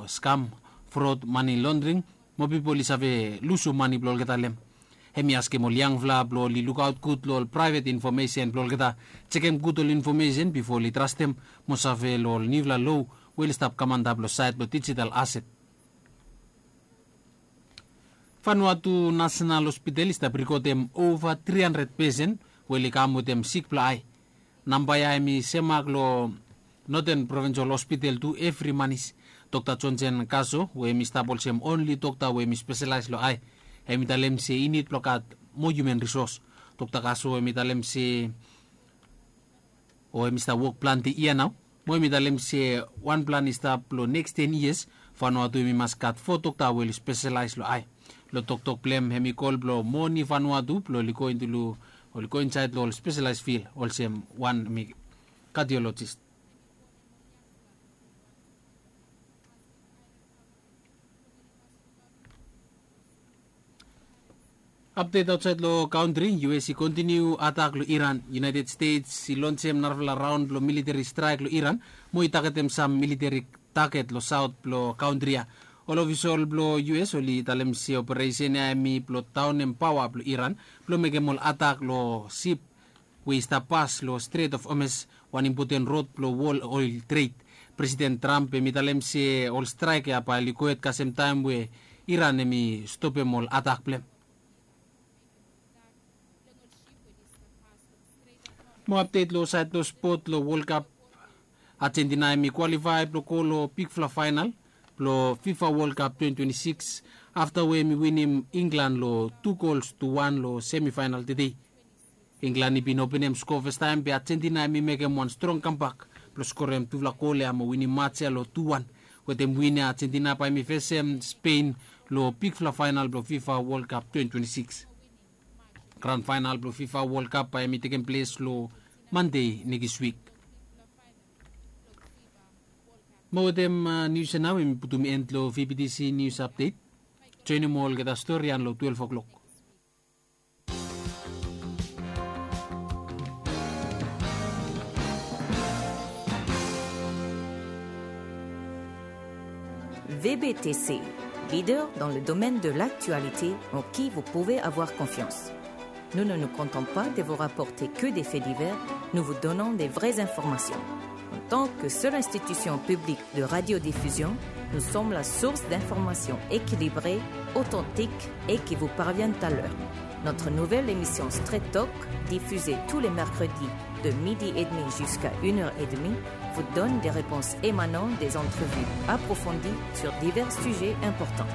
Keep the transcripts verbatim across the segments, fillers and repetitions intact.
skam, frod, mani londring, mo pipol i save lusum mani blong olgeta long hem. Hem i askem ol yangfala blong oli lukaot gud long ol praevet infomesen blong olgeta, jekem gud ol infomesen bifo oli trastem mo save long ol niufala loa we oli stap kam antap long saed blong dijital aset. Vanuatu Nasenal Hospital i stap rikodem ova tri handred pesen we oli kam wetem sik blong ae. Namba ya hem i semak long Noten Provinsal Hospital tu evri manis. Dokta Jonsen Kaso we hem i stap olsem onli dokta we hem i speselaes long ae, hem i talem se i nid blong gat moa hiuman risos. Dokta Kaso hem i talem se o hem i stap wok plante yia nao. Mo hem i talem se wan plan i stap long neks ten yias, Vanuatu hem i mas gat fo dokta we oli speselaes long ae. Long toktok blong hem hem i kol blong moa niu Vanuatu blong oli go insaed long ol speselaes fil olsem wan hem i kadiolojis. Apdet aotsaed long kantri, U S i kontiniu atak long Iran. United States i lonsem narafala raon blong militeri straek long Iran mo i tagetem sam militeri taget long saot blong kantri ya. Ol ofisol blong U S oli talem se operesen ya hem i blong daonem paoa blong Iran blong mekem ol atak long sip we i stap pas long Strait of Hormuz, wan impoten rod blong wol oel tred. Presiden Trump hem i talem se ol straek ya bae oli gohed kasem taem we Iran hem i stopem ol atak blong hem. Moa apdet long saed long spot long Wol Kap. Ajentina hem i kwalifae blong go long bigfala faenal blong Fifa Wol Kap twenti twenti sikis afta we hem i winim Inglan long tu gols tu wan long semifaenal tede. Inglan i bin openem skoa fastaem be Ajentina hem i mekem wan strong kambak blong skorem tufala gol ya mo winim maj ya long tu wan. Wetem win ya Ajentina bae hem i fesem Spen long bigfala faenal blong Fifa Wol Kap twenti twenti sikis. Gran faenal blong Fifa Wol Kap bae hem i tekem ples long Mande nekis wik. Mo wetem nius ya nao hem i putum en long V B T C nius apdet. Joenem olgeta stori ya long twelef oklok. V B T C, leader dans le domaine de l'actualité en qui vous pouvez avoir confiance. Nous ne nous contentons pas de vous rapporter que des faits divers, nous vous donnons des vraies informations. En tant que seule institution publique de radiodiffusion, nous sommes la source d'informations équilibrées, authentiques et qui vous parviennent à l'heure. Notre nouvelle émission Straight Talk, diffusée tous les mercredis de midi et demi jusqu'à une heure et demie, vous donne des réponses émanant des entrevues approfondies sur divers sujets importants.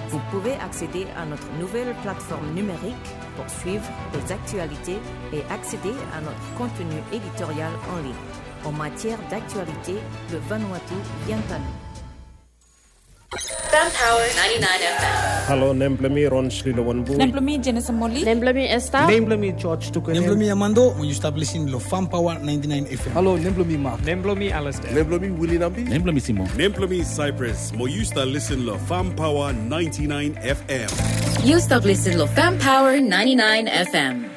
Vous pouvez accéder à notre nouvelle plateforme numérique pour suivre les actualités et accéder à notre contenu éditorial en ligne. En matière d'actualité, le Vanuatu vient à nous. Fan Power ninety-nine F M. Halo, nem blong mi Ron Shlilo Wanbu. Nem blong mi Jenison Moli. Nem blong mi Esther. Nem blong mi George Tuku. Nem blong mi Armando, mo yu stap lisin long Fan Power ninety-nine F M. Halo, nem blong mi Mark. Nem blong mi Alistair. Nem blong mi Willie Nambi. Nem blong mi Simon. Nem blong mi Cyprus, mo yu stap lisin long Fan Power ninety-nine F M. Yu stap lisin long Fan Power ninety-nine F M.